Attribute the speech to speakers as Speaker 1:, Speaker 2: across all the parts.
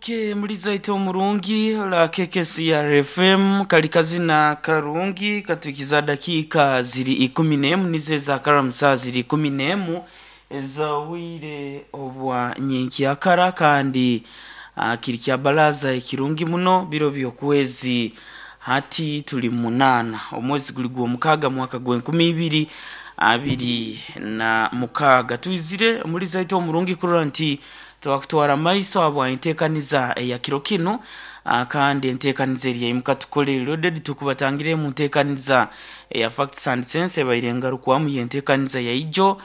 Speaker 1: Oke mulizaita omurungi la KKCR FM kali kazina karungi katuikiza dakika ziri 11 nizo ezakara saa ziri 11 ezawire obwa nyenkyakara kandi kiri kya baraza ekirungi muno biro by'okwezi hati tuli 8 omwezi guli gw'omukaaga mwaka gw'enkumi ibiri abiri na mukaaga. Twizire omulizaita omurungi kurora nti twakutwara maiso habwa enteekaniza eya kiro kinu, kandi enteekaniza eri yaimuka tukole loaded tukubatangire mu nteekaniza eya Facts and Sense ebaire engarukwamu y'enteekaniza yaijo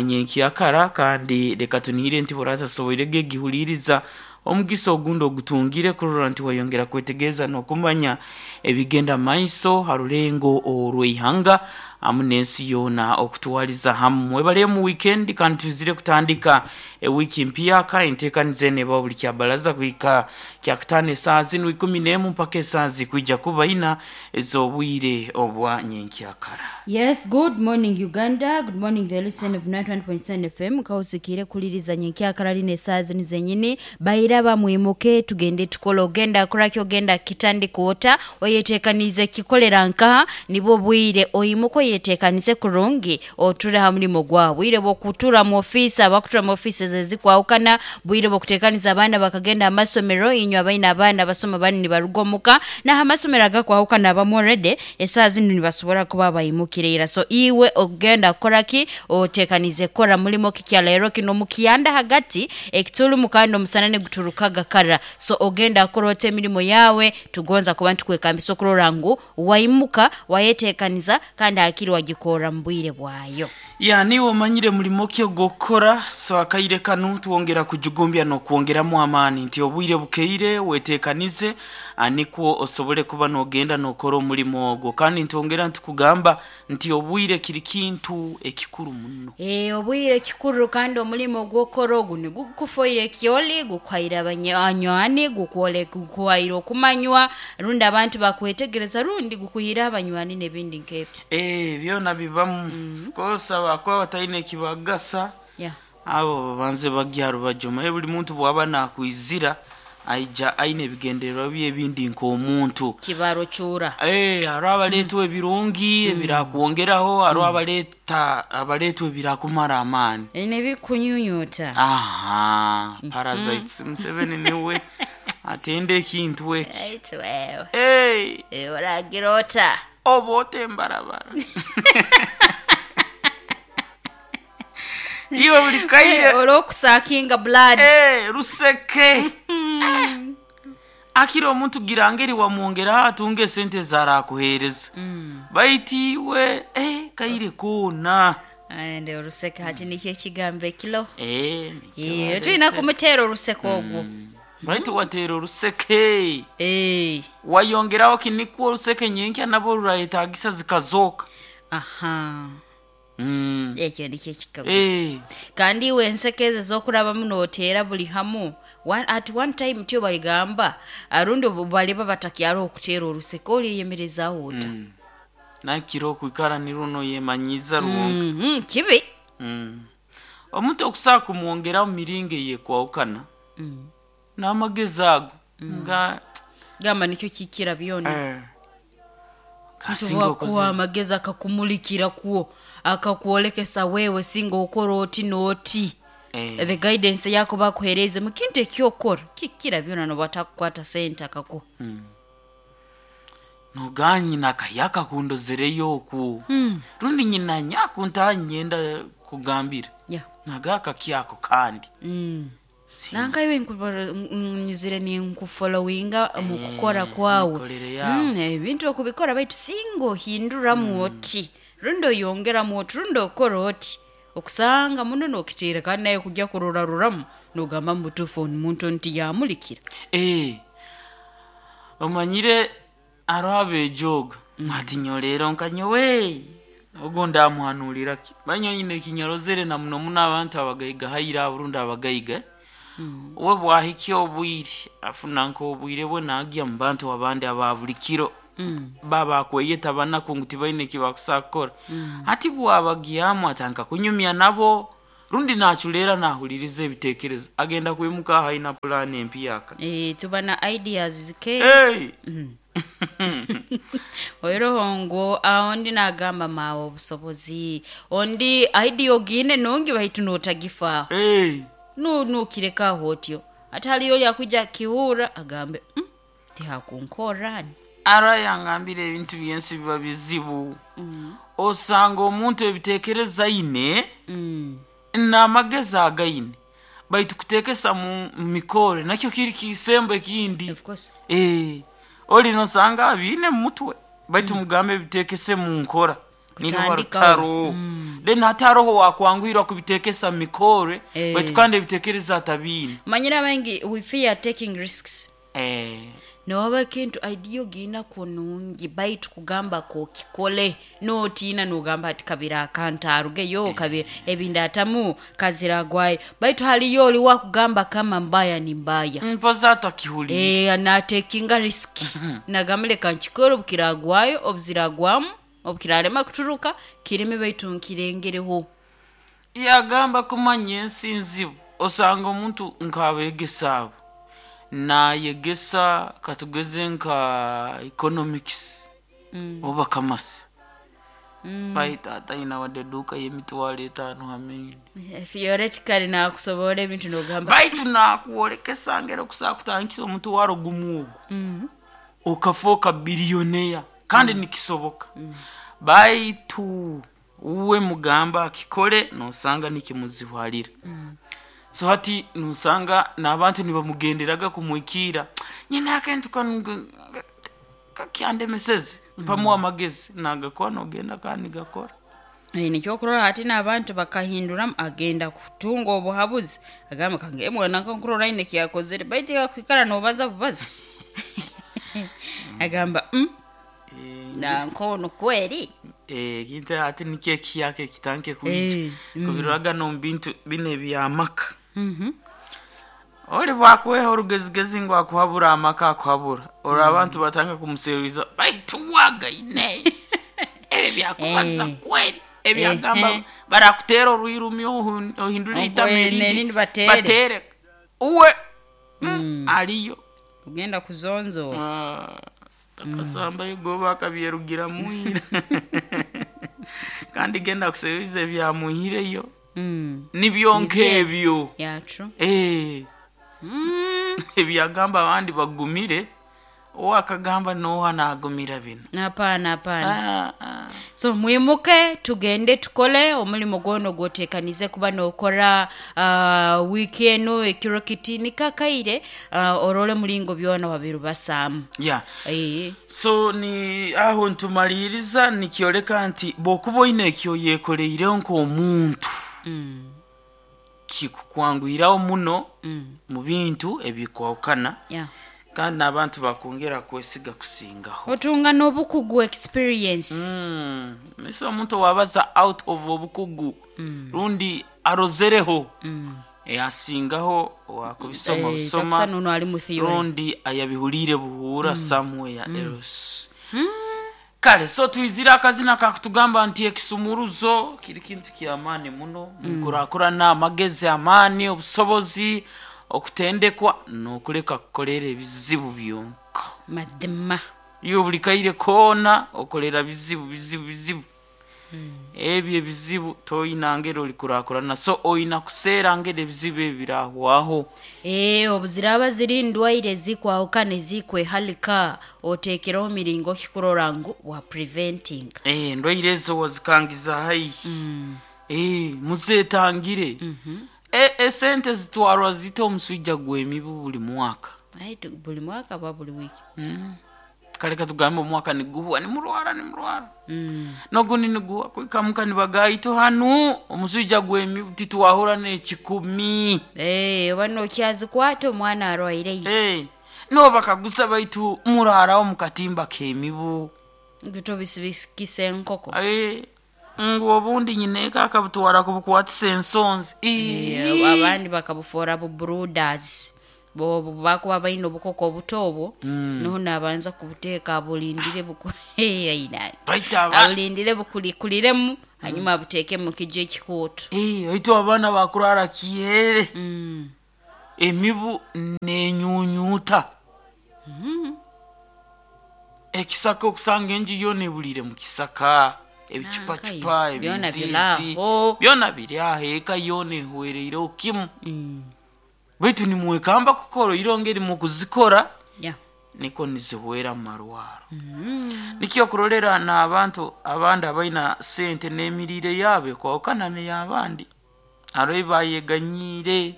Speaker 1: nyenkyakara, kandi leka tunihire nti boratasoboire gegihuliiriza omugisa ogundi ogutungire kurora nti wayongera kwetegereza n'okumanya ebigenda maiso ha rulengo orw'eihanga hamu n'ensi yoona okutwaliza hamu. Mwebale mu weekend kandi twizire kutandika ewiiki mpyaka. Enteekaniza eno ebaho buli kyabaraza kuhika kyakutaano esaaha zinu 11 mpaka esaaha zikwija kuba ina ez'obwire obwa nyenkyakara.
Speaker 2: Yes, good morning Uganda. Good morning the listen of 91.7 FM. Kausikire kuliriza nyenkyakara lino esaaha zinu zenyini. Bairaba mwimuke tugende tukole, ogenda kuraki, ogenda kitandika ota, oyeteekanize kikolera nkaha nibwo bwire oyimuka oyeteekanize kurungi oture ha mulimo gwawe. Bwire bw'okutura mu ofiisi, abakutura mu ofiisi ezikwahukana, bwire bw'okuteekaniza abaana bakagenda amasomero, inywe abaine abaana basoma banu nibaruga omuka, naho amasomero agakwahukana abamu already esaaha zinu nibasobora kuba baimukire ira. So iwe ogenda kukoraki, oteekanize kukora mulimo ki kyaleero kino mukyanda hagati ekitulumu kandi omusana niguturukaga kara. So ogenda kukora ota emirimo yaawe, tugonza kuba nitukwekambisa okurora ngu waimuka wayeteekaniza kandi hakiri wagikora mu bwire bwayo.
Speaker 1: Ya niiwe omanyire mulimo ki ogw'okukora, so akaire kanu twongera kujugumbya n'okwongeramu amaani nti obwire bukeire weteekanize nikwo osobole kuba n'ogenda n'okora omulimo ogwo. Kandi ntwongera ntukugamba nti obwire kiri kintu ekikuru muno.
Speaker 2: Obwire kikuru kandi omulimo ogw'okukora ogu nigukufoire ekyoli, gukuhaire abanywani, gukuhaire okumanywa rundi abantu bakwetegereza rundi gukuhaire abanywani n'ebindi nk'ebyo.
Speaker 1: Byona bibamu. Of course abakuba bataine ekibagasa abo babanze bagye aha rubaju. Omanye buli muntu bwaba nakwizira aija aine ebigendererwa bye ebindi nk'omuntu.
Speaker 2: Kibaro kyura.
Speaker 1: Hariho abaleetwa ebirungi ebirakwongeraho, hariho abaleetwa ebirakumara amaani.
Speaker 2: N'ebikunyunyuta.
Speaker 1: Aha, parasites Museveni niwe atenda ekintu eki.
Speaker 2: Aitu wewe. Oragira ota?
Speaker 1: Oba ota embarabara. Iwe buli kaire
Speaker 2: Olw'okusakinga blood.
Speaker 1: Ruseke. Akira omuntu gira ngeri wamwongeraho atunge esente ezarakuheereza. Baitu iwe kaire koona.
Speaker 2: Ende oruseke hati nikyo ekigambo ekilo.
Speaker 1: Nikyo barese.
Speaker 2: Tulina kumuteera oruseke ogwo.
Speaker 1: Baitu wateera oruseke. Wayongeraho kinikwo oruseke nyenkya nabo rurayetagisa zikazooka.
Speaker 2: Aha. Ekyo nikyo ekikaguzo. Kandi iwe enseke ezo ez'okurabamu nooteera buli hamu, at one time tyo baligamba rundi obu baliba batakyaroho kuteera oruseke olyeyemerezaaho ota?
Speaker 1: Nakira okwikara nirwo noyemanyiiza rwonka.
Speaker 2: Kibi.
Speaker 1: Omuntu okusobola kumwongeraho mu miringo eyekwahukana n'amagezi ago nga
Speaker 2: Gamba nikyo kikira byona.
Speaker 1: Kasinga
Speaker 2: Nituba kuha
Speaker 1: okozere.
Speaker 2: amagezi akakumulikira kwo, akakwolekesa wewe singa okora oti n'oti. The guidance ei akuba akuheereize mu kintu eki okora kikira byona n'obu atakukwata sente akakuha.
Speaker 1: Nogaa nyina akahya akundozereyo oku rundi nyina nyakuntaha niinyenda kugambira. Nagaa akakyako kandi.
Speaker 2: Nanka iwe nyizire ninkufollowinga omu kukora kwawe.
Speaker 1: Emikorere yaawe.
Speaker 2: Ebintu okubikora baitu singa ohinduramu oti rundi oyongeramu oti rundi okora oti okusanga muno n'okiteera kandi nawe kugya kuroraruramu n'ogamba mubutuufu onu muntu onu tiyamulikira.
Speaker 1: Omanyire hariho abeejooga ati nyowe leero nka nyowe ogu ndamuhanuurira ki? Manya nyowe nyine ekinyarozere na muno muno abantu abagaiga haire abo rundi abagaiga, we bwahikya obwire afuna nk'obwire bwe naagya mu bantu abandi aba buli kiro baba bakweyeta banaku ngu tibaine eki bakusobola kukora. Hati bwabagyamu atandika kunyumya nabo. Rundi naculeera nahuliriza ebitekerezo, agenda kwimuka aho aina pulaani empyaka.
Speaker 2: Tuba na ideas zike.
Speaker 1: Hey!
Speaker 2: Oiroho ngu ondi nagamba maawe obusobozi, ondi idea ogiine nungi baitu nootagifaaho.
Speaker 1: Hey!
Speaker 2: Nukireka aho otyo. Ate haliyo oli akwija akihurra agambe tihakunkorra.
Speaker 1: Ara yangambire ebintu byensi biba bizibu. Osanga omuntu ebitekerezo aine n'amagezi againe, baitu kuteekesa mu mikore nakyo kiri kisembo ekindi.
Speaker 2: Of course.
Speaker 1: Oli nosanga abiine mu mutwe, baitu mugambe ebiteekese mu nkora niruba
Speaker 2: Kutandikaho.
Speaker 1: rutaro. Then hati haroho wakwanguhirwa kubitekesa mu mikore, baitu kandi ebitekerezo atabiine.
Speaker 2: Manyire abaingi we fear taking risks. Nowaba ekintu idea ogiinakwo nungi baitu kugamba k'okikole nootiina noogamba ati kabira akantu arugeyo kabira ebindaatamu kaziragwayo, baitu haliyo oli wakugamba kama mbaya ni mbaya.
Speaker 1: Mpozi atakihuliire.
Speaker 2: Naatekinga risk, nagamba leka nkikore obukiragwayo, obuziragwamu, obukirarema kuturuka kireme baitu nkirengereho.
Speaker 1: Yagamba kumanya ensi nzibu, osanga omuntu nk'abeegesa abo naayegesa katugeze nka economics oba commerce, baitu ataina wadde eduuka y'emitwaro 50 ha main.
Speaker 2: Theoretically naakusoborra ebintu noogamba
Speaker 1: Baitu naakwolekesa ngeri okusobola kutandikisa omutwaro gumu ogu okafooka billionaire, kandi nikisoboka. Baitu uwe mugamba akikole noosanga nikimuzibuhalira. So hati noosanga n'abantu nibamugenderaga kumuhikiira, nyina akintu kanu kakyandemeseze, mpamu amagezi naagakora noogenda kandi nigakora.
Speaker 2: Nikyo okurora hati n'abantu bakahinduramu agenda kutunga obuhabuzi agambe kange mwana nkankurora aine eki yakozere baitu kwikara noobaza bubaza agamba nanka onu kweri.
Speaker 1: Ekintu hati nikyo ekiyaka ekitandike kwija, kubiroraga n'omu bintu binu eby'amaka. Oli bwakweha orugezigezi ngu akuhabura amaka akuhabura, orora abantu batandika kumuseruliza baitu wagaine ebi byakubaza kweri, ebyagamba barakuteera orwirumi ohindule itama
Speaker 2: Ogwe
Speaker 1: erindi
Speaker 2: nerindi bateere.
Speaker 1: Bateere uwe aliyo.
Speaker 2: Ogenda kuzonzoora.
Speaker 1: Akasambayo goba akabyerugiramu ira, kandi genda kuseruliza ebyamuhireyo nibyo nk'ebyo.
Speaker 2: Yeah, true.
Speaker 1: Ebyagamba abandi bagumire, uwe akagamba nooha naagumira binu.
Speaker 2: Hapana, hapana.
Speaker 1: Ah, ah.
Speaker 2: So mwimuke tugende tukole omulimo gwona ogwoteekanize kuba nookora wiiki enu ekiro kiti nikakaire orole mulingo byona wabirubasaamu.
Speaker 1: Yeah. So ni aho ntumaliiriza nikyoleka nti bw'okuba oine eki oyekoreireho nk'omuntu, kikukwanguhiraho muno mu bintu ebikwahukana, kandi n'abantu bakwongera kwesiga kusingaho.
Speaker 2: Otunga n'obukugu, experience.
Speaker 1: Mise omuntu owabaza out of obukugu rundi arozereho, asingaho owakubisoma busoma
Speaker 2: Takusa nono ali mu theory.
Speaker 1: Rundi ayabihuliire buhuura somewhere else. Kale so twizire akazina kakutugamba nti ekisumuruzo kiri kintu ky'amaani muno munkurakurana, amagezi, amaani, obusobozi, okutendekwa n'okuleka kukolera ebizibu byonka.
Speaker 2: Mazima.
Speaker 1: Iwe buli kaire koona okolera bizibu bizibu bizibu, ebyo ebizibu toyina ngeri olikurakurana, so oyina kuseera ngeri ebizibu ebi birahwaho.
Speaker 2: Obuziraaba ziri ndwaire ezikwahukana ezikwehalika, oteekereho miringo ki kurora ngu wa preventing.
Speaker 1: Endwaire ezo wazikangiza haihi, muzeetangire. Esente zitwarwa zita omuswija gw'emibu buli mwaka?
Speaker 2: Ai, buli mwaka ba buli wiiki?
Speaker 1: Kale katugambe omwaka niguhwa nimurwara nimurwara, n'ogundi niguhwa kwikamuka nibagaito hanu omuswija gw'emibu titwahura n'ekikumi.
Speaker 2: Oba nokyazikwata omwana arwaire.
Speaker 1: Nobakaguza baitu muraraho mu katimba k'emibu.
Speaker 2: Tobisibikisa enkoko.
Speaker 1: Ngu obundi nyineeka akabutwara kubukwatisa ensonzi.
Speaker 2: Abandi bakabufoora bu brooders. Obu bakuba baine obukoko obuto obwo, nuho nabanza kubuteeka abulindire buku aina
Speaker 1: Baitu aba
Speaker 2: abulindire bukulikuliremu hanyuma abuteeke mu kijo ekikooto.
Speaker 1: Eh, baitu abaana bakurara kihere emibu nenyunyuta ekisaka okusanga enju yoona ebuliire mu kisaka ebicupacupa
Speaker 2: Nankayo, byona
Speaker 1: ebiziizi
Speaker 2: biri aho.
Speaker 1: Byona biri aho eka yoona ehwereireho kimu baitu nimwekamba kukora oirongo eri mukuzikora niko nizihwera mu marwaro nikyo okurolera n'abantu abandi abaina sente n'emiriire yaabo ekwahukana n'ey'abandi hariho ebi bayeganyiire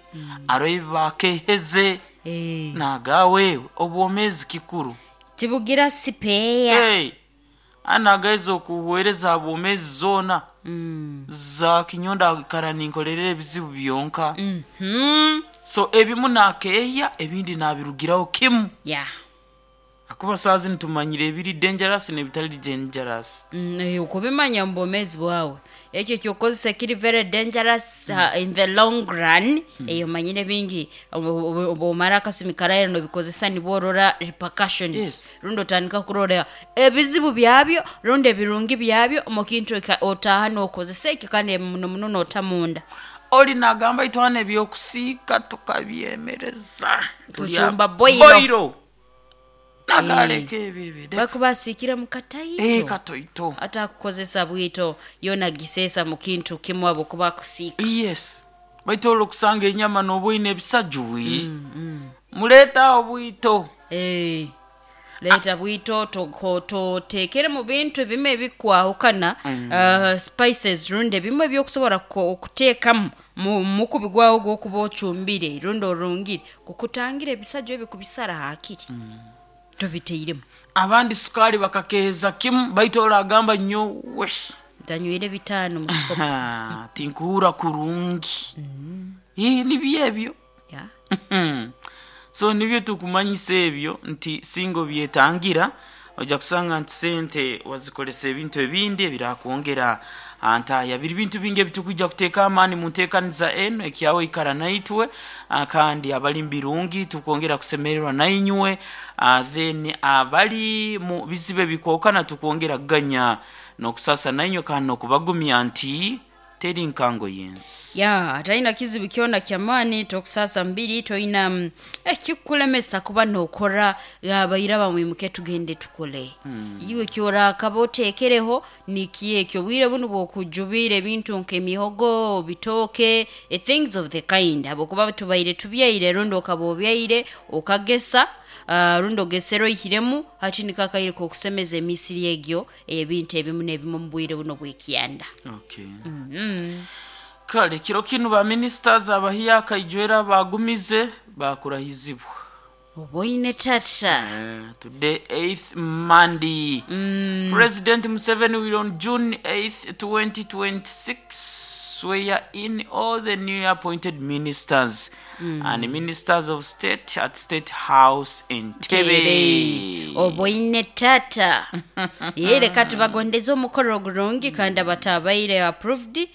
Speaker 1: hariho ebi bakeheze
Speaker 2: Eh,
Speaker 1: nagawe obwomeezi kikuru.
Speaker 2: Tibugira sipeeya.
Speaker 1: Hey, anagaiza okuhwereza ha bwomeezi zoona za kinyonda akara ninkolerera ebizibu byonka so ebimu nakeehya ebindi nabirugiraho kimu akuba saa zinu tumanyire ebiri dangerous n'ebitali dangerous.
Speaker 2: Okubimanya mu bwomeezi bwawe ekyo ekyokukozesa kiri very dangerous in the long run eyo omanyire bingi obwomara akasumi karaira nobikozesa nibwo orora repercussions rundi otandika kurora ebizibu byabyo rundi ebirungi byabyo omu kintu otaaha nokozesa ekyo kandi muno muno noota munda.
Speaker 1: Oli nagamba itwana ebyokusiika tukabyemereza.
Speaker 2: Tucumba boilo.
Speaker 1: Boilo nagaleka ebyo ebyo
Speaker 2: Bakuba asiikire mu kataito
Speaker 1: katoito.
Speaker 2: Atakukozesa bwito yoona giseesa mu kintu kimu habwokuba akusiika.
Speaker 1: Yes, baitu olwo okusanga enyama noba oine ebisajwi muleeta obwito.
Speaker 2: Eh, leeta bwito toteekere mu bintu ebimu ebikwahukana spices rundi ebimu ebyokusobora okuteekamu mu mukubi gwawe ogwokuba ocumbire rundi orungire kukutangira ebisajwa ebi kubisara haakiri tobiteiremu.
Speaker 1: Abandi sukaali bakakeheza kimu baitu olagamba nyowe
Speaker 2: ntanywire bitaano mu kikopo.
Speaker 1: Tinkuhurra kurungi. Ii, nibyo ebyo. So nibyo tukumanyisa ebyo nti singa obyetangira ojja kusanga nti sente wazikolesa ebintu ebindi ebirakwongera antaya biri bintu bingi ebitukwija kuteeka amaani mu nteekaniza enu ekyawe ikara naitwe kandi abali mu birungi tukwongera kusemererwa nainywe then abali mu bizibu ebikwahukana tukwongera kuganya n'okusasa nainywe kandi n'okubagumya nti teri nkango y'ensi.
Speaker 2: Ya talina kizibu kyona kyamaani tokusaasa mbiri toina ekikulemesa kuba nokora abaira bamwimuke tugende tukole iwe kyorakaba oteekereho nikiyo ekyo obwire bunu bwokujubiire ebintu nk'emihogo bitooke things of the kind habwokuba tubaire tubyaire rundi okaba obyaire okagesa rundi ogesere oihiremu hati niko akaire k'okusemeza emisiri egyo ey'ebintu ebimu n'ebimu omu bwire buno obw'ekyanda.
Speaker 1: Okay. Kale kiro kinu ba ministers abahiya akaijwera bagumize bakurahizibwa.
Speaker 2: Oboine tata.
Speaker 1: Today 8th Monday. President Museveni will on June 8th 2026 swear in all the newly appointed ministers and ministers of state at State House Entebbe.
Speaker 2: Tebe oboine tata ye leka tubagondeze omukoro ogurungi kandi abatabaire approved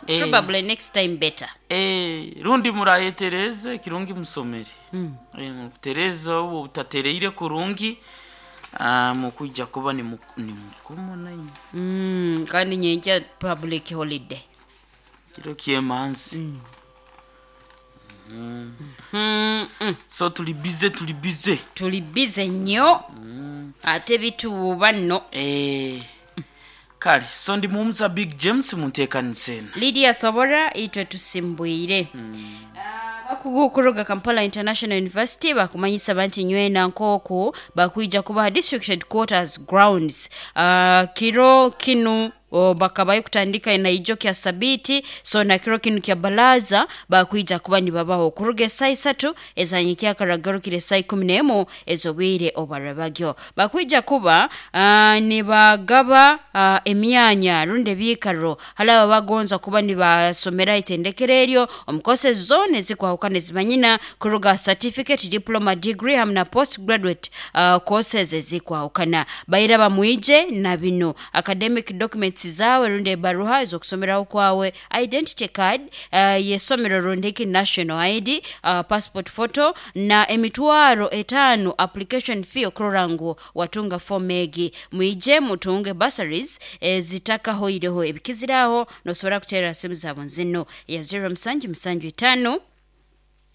Speaker 2: probably next time better.
Speaker 1: Eh, rundi murayetereze kirungi musomere mutereze obu butatereire kurungi mukwija kuba nimukomo nainywe.
Speaker 2: Kandi nyenkya public holiday.
Speaker 1: Kiro kyemanzi. So tuli bize tuli bize.
Speaker 2: Tuli bize nnyo ate bituwuba nno.
Speaker 1: Eh, kale so ndi mumuza Big James munteekanisa eno.
Speaker 2: Lydia Sobora itwe tusimbwire. Abakugu okuruga Kampala International University bakumanyisa banti nywena nkooku bakwija kubaha district headquarters grounds kiro kinu bakabayo kutandika naijo kya sabiti so na kiro kinu kya balaza bakwija kuba nibabaho okuruga esaa isatu ezanyikya karagarukire esaa 11 ez'obwire obwarabagyo bakwija kuba nibagaba emyanya rundi ebiikaro hali abo bagonza kuba nibasomera itendekero eryo omu courses zoona ezikwahukana ezimanyina kuruga certificate, diploma, degree hamu na post graduate courses ezikwahukana baira bamwije na bino academic documents. Certificates zawe rundi ebaruha ez'okusomeraho kwawe, identity card y'essomero rundiki national ID, passport photo na 5,000 application fee okurora ngu watunga form egi. Mwije mutunge bursaries ezitakahoireho. Ebikiziraho nosobora kuteera simu zaabo zino ya 0 musanju musanju itaano,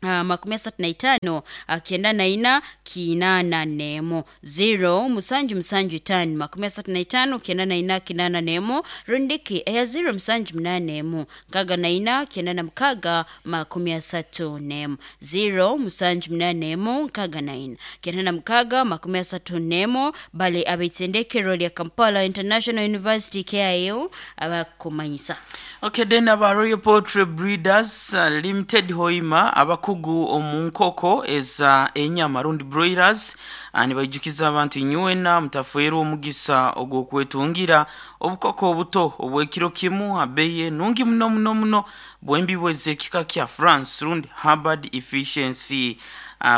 Speaker 2: 35 94 81, 0 musanju musanju itaano 35 94 81, rundiki eya 0 musanju munana emu 64 96 31, 0 musanju munana emu 64 96 31. Bale abaitendekero lya Kampala International University KIU abakumanyisa.
Speaker 1: Okay, then aba Royal Poultry Breeders Limited Hoima, abakugu omu nkoko eza enyama rundi broilers, nibaijukiza abantu inywena mutafeerwa omugisa ogw'okwetungira obukoko obuto obw'ekiro kimu abeye nungi muno muno muno bwembi bwezekika kya France rundi Harvard Efficiency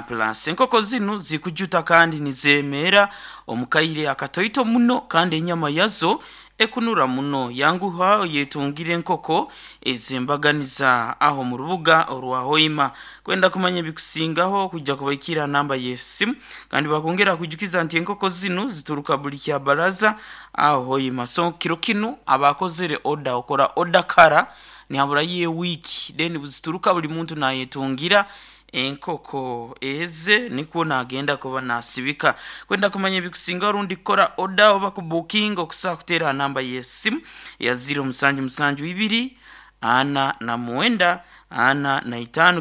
Speaker 1: plus. Enkoko zinu zikujuta kandi nizemeera omukaire akatoito muno, kandi enyama yazo ekunura muno. Yanguha yetungire enkoko ezembaganiza aho mu rubuga orwa Hoima. Kwenda kumanya ebikusingaho kujja kubaikira namba y'esimu, kandi bakongera kujukiza nti enkoko zinu zituruka buli kya baraza aho Hoima. So kiro kinu abakozere oda, okora oda kara nihabura ye wiki, then buzituruka buli muntu nayetungira enkoko eze nikwo nagenda kuba nasibika. Kwenda kumanya ebikusinga rundi kukora oda oba kubukinga, okusobola kuteera namba y'esimu ya 0 musanju musanju ibiri 49 45 89,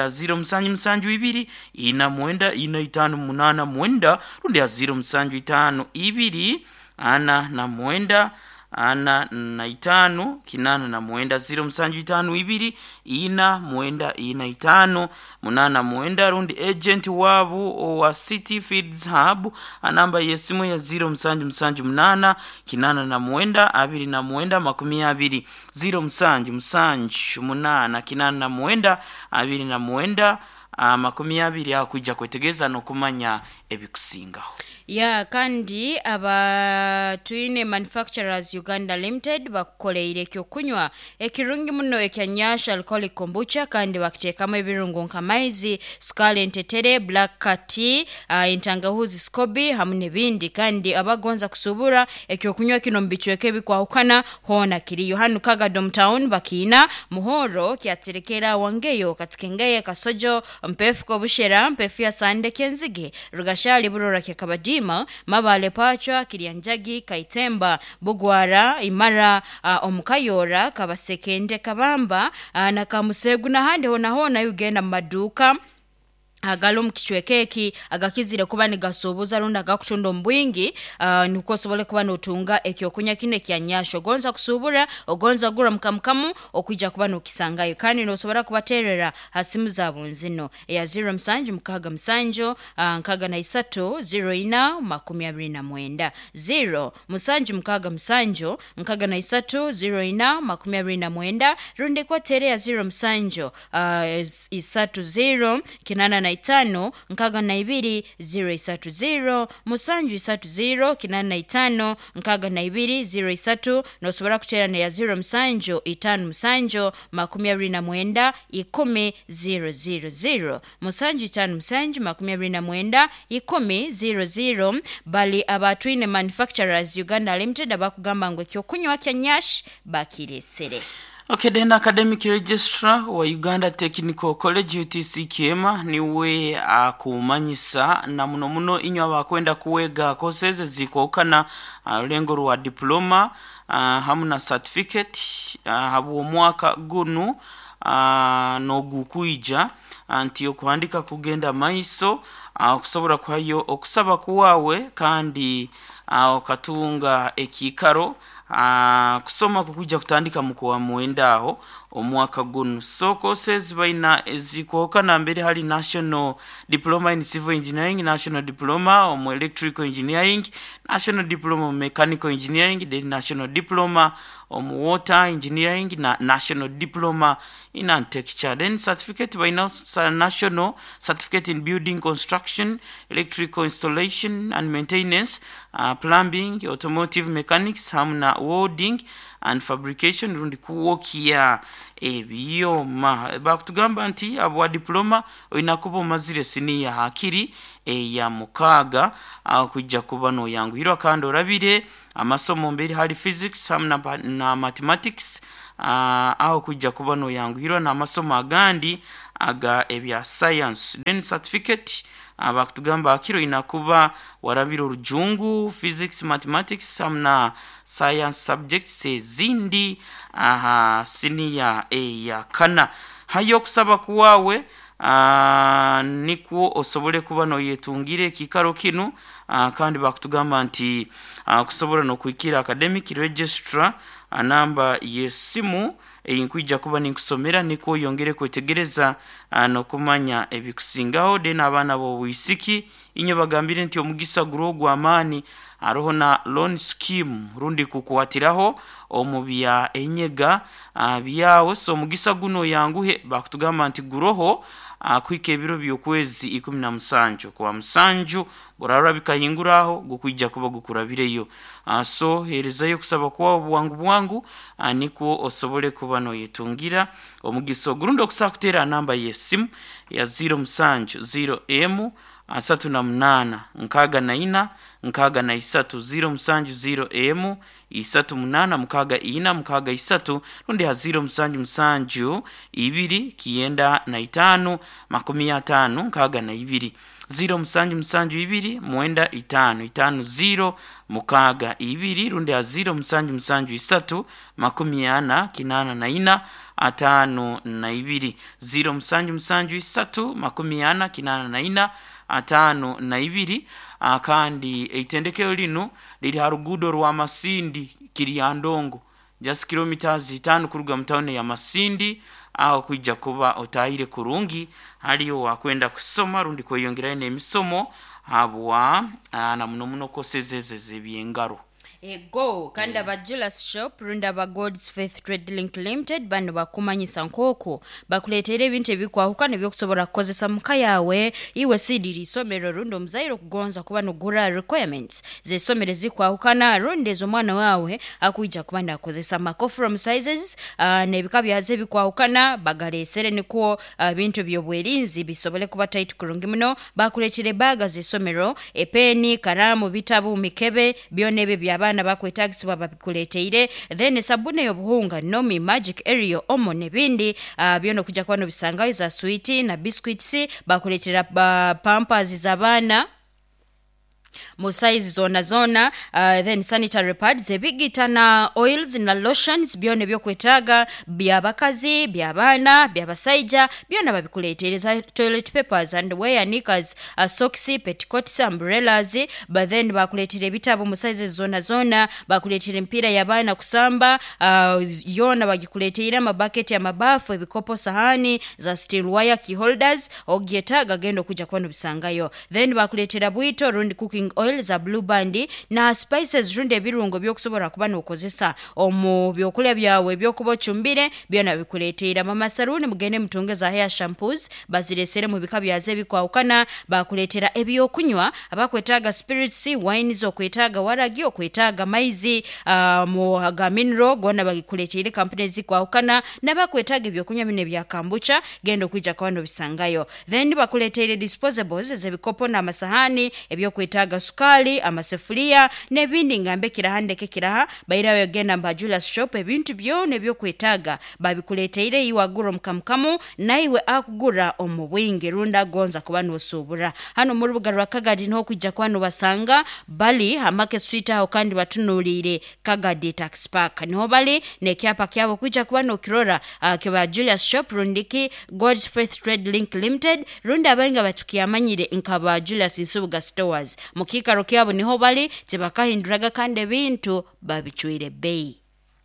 Speaker 1: 0 musanju musanju ibiri 49 45 89, rundi ya 0 musanju itaano ibiri 49 45 89, 0 musanju itaano ibiri 49 45 89, rundi agent wabu owa City Feeds Hub anamba y'esimu ya 0 musanju musanju munana 89 29 20, 0 musanju musanju munana 89 29 20, akwijja kwetegereza n'okumanya ebikusingaho.
Speaker 2: Ya, kandi aba Twine Manufacturers Uganda Limited bakukoleire ekyokunywa ekirungi muno ekya Nyash Alcoholic Kombucha, kandi bakiteekamu ebirungo nk'amaizi, sukaali, entetere, black tea, entangahuzi, scoby hamu n'ebindi. Kandi abagonza kusubura ekyokunywa kino mu bicweka ebikwahukana hoona kiriyo. Hanu Kagadom Town bakiina, Muhoro, Kyaterekera, Wangeyo, Katikengeye, Kasojo, Mpefuko, Bushera, Mpefu ya Sande, Kenzige, Rugashali, Burora, Kyakabadima, Mabale, Pachwa, Kiryanjagi, Kaitemba, Bugwara, Imara, Omukayora, Kabasekende, Kabamba, na Kamusegu n'ahandi hona hona ugenda mu maduuka agali omu kicweka eki agakizire kuba nigasuubuza rundi agakutunda omu bwingi, nikwo osobole kuba notunga ekyokunywa kinu ekya Nyash. Ogonza kusuubura, ogonza kugura mukamukamu, okwija kuba nokisangayo. Kandi nosobora kubateerera ha simu zaabo nzino eya 0 musanju mukaaga musanju, 63 04 29, 0 musanju mukaaga musanju 63 04 29, rundi kwoteere ya 0 musanju 30 85 62 030 musanju 30 85 62 03. Nosobora kuteera neya 0 musanju itaano musanju 29 10 000, musanju itaano musanju 29 10 00. Bali abatwine Manufacturers Uganda Limited abakugamba ngu ekyokunywa kya Nyash bakiresere.
Speaker 1: Okay, then academic registrar wa Uganda Technical College UTC Kiema niwe akumanyisa na muno muno inywe abakwenda kuwega courses zikwahukana, rulengo rwa diploma, hamu na certificate, habw'omwaka gunu n'ogukwija nti okuhandika kugenda maiso, okusobora kuhayo okusaba kuwawe kandi okatunga ekiikaro, kusoma kukwija kutandika mu kwa mwenda aho omwaka gunu. So courses baina ezikwahukana, mbere hali National Diploma in Civil Engineering, National Diploma omu Electrical Engineering, National Diploma mu Mechanical Engineering, then National Diploma omu Water Engineering na National Diploma in Architecture. Then certificate baina. National Certificate in Building Construction, Electrical Installation and Maintenance, Plumbing, Automotive Mechanics hamu na Welding and Fabrication rundi kuwokya ebyoma. Bakutugamba nti abwa diploma olina kuba omazire siniya hakiri eya 6 kwijja kuba noyanguhirwa kandi orabire amasomo mbere hali physics hamu na mathematics, aho kwijja kuba noyanguhirwa n'amasomo agandi aga ebya science. Then certificate bakutugamba hakiri olina kuba warabire orujungu, physics, mathematics hamu na science subjects ezindi aha siniya eya 4. Hayo okusaba kuwawe nikwo osobole kuba noyetungira ekiikaro kinu, kandi bakutugamba nti kusobora n'okuhikira academic registrar, namba y'esimu eyinkwija kuba ninkusomera nikwo oyongere kwetegereza n'okumanya ebikusingaho. Then abaana b'obwisiki inye bagambire nti omugisa guri ogw'amaani, haroho na loan scheme rundi kukwatiraho omu bya enyega byawe. So omugisa guno oyanguhe, bakutugamba nti guroho kuhika ebiro by'okwezi 17 kwa 7 burarora bikahinguraho gukwija kuba gukurabireyo. So herezayo okusaba kwawe bwangu bwangu, nikwo osobole kuba noyetungira omugisa ogurundi. Okusobola kuteera namba y'esimu ya 07 0M 38 64 63, 07 0M 38 64 63 rundi ha 07 7 2 95 50 62, 07 7 2 9 5 5 0 6 2 rundi ha 07 7 3 40 84 52, 07 7 3 40 84 52. Kandi eitendekero linu liri ha ruguudo rwa Masindi Kiryandongo, just kilometers 5 kuruga mu tawuni ya Masindi, aho kwijja kuba otahire kurungi haliyo wakwenda kusoma rundi kweyongerayo n'emisomo habwa na muno muno kosezeze ebyengaro.
Speaker 2: Ego kandi aba Julius Shop rundi aba God's Faith Trade Link Limited bano bakumanyisa nk'oku bakuleetera ebintu ebikwahukana ebyokusobola kukozesa muka yawe iwe sidiri isomero rundi omuzaire okugonza kuba nogura requirements z'esomero ezikwahukana rundi ez'omwana wawe akwija kuba nakozesa macoffrom sizes, n'ebika byazo ebikwahukana bagaleesere nikwo ebintu by'obwerinzi bisobole kuba tight kurungi muno. Bakuleetera ebaga z'esomero, epeni, karamu, bitabu, mikebe, byona ebyo by'abaana bakwetagisibwa babikuleteire. Then esabuni ey'obuhunga, Nomi, Magic, Ariel, Omo n'ebindi, byona okujja kuba nobisangayo, za switi na biscuits. Bakuleetera pampers z'abaana mu size zona zona, then sanitary pads, ebigita na oils na lotions, byona ebyokwetaaga byabakazi, by'abaana, by'abasaija, byona babikuleteire, za toilet papers and wear, knickers, socks, petticoats, umbrellas. But then bakuleetera ebitabo mu sizes zona zona, bakuleetera emipiira y'abaana kusamba, yoona bagikuleteire, amabaketi, amabafu, ebikopo, sahani za steel wire, key holders, ogyetaaga genda okujja kuba nobisangayo. Then bakuleetera bwito rundi cooking oil za Blue Band na spices rundi ebirungo byokusobola kuba nokozesa omu byokulya byawe ebyokuba ocumbire, byona bikuleteire. Mama Saloon mugende mutunge za hair shampoos baziresere mu bika byazo ebikwahukana. Bakuleetera ebyokunywa, abakwetaaga spirits, wines, okwetaaga waragi, okwetaaga maizi mu ga mineral gona bagikuleteire, kampuni ezikwahukana. N'abakwetaaga ebyokunywa bino ebya kombucha genda okwijja kuba nobisangayo. Then bakuleteire disposables ez'ebikopo n'amasahani, ebyokwetaaga sukali, amasefuliya n'ebindi, ngambe kiraha ndeke kiraha. Bairawe genda mba Julius Shop, ebintu byona ebyokwetaaga babikuleteire, iwe agura omukamukamu naiwe akugura omu bwingi rundi agonza kuba nosuubura. Hano mu rubuga rwa Kagadi niho okwijja kuba nobasanga, bali ha Market Street aho kandi batunuliire Kagadi Tax Park, niho bali n'ekyapa kyabo okwijja kuba nokirora, kiba Julius Shop rundiki God's Faith Trade Link Limited rundi abainga batukyamanyire nkaba Julius Nsubuga Stores. Mu kiikaro kyabo niho bali, tibakahinduraga kandi ebintu babicwire bei.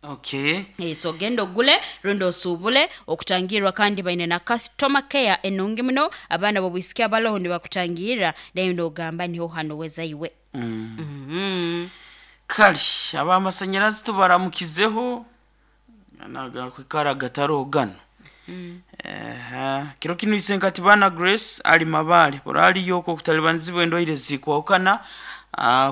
Speaker 1: Okay.
Speaker 2: So genda ogule rundi osuubule okutangirwa, kandi baine na customer care enungi muno. Abaana b'obwisiki abaloho nibakutangirra naye nogamba niho hano wezaiwe.
Speaker 1: Kale abamasanyarazi tubaramukizeho nagakwikara gatarogana. Kiro kinu isenkati baana Grace ali Mabale oraliyo okwo okutalibanizibwa endwaire zikwahukana,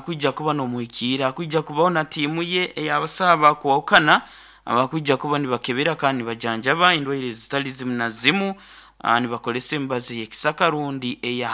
Speaker 1: kwija kuba n'omuhikiira kwija kubaho na tiimu ye ey'abasaha bakwahukana abakwija kuba nibakebera kandi nibajanjaba endwaire zitali zimu na zimu, nibakozesa emibazi ey'ekisaka rundi eya.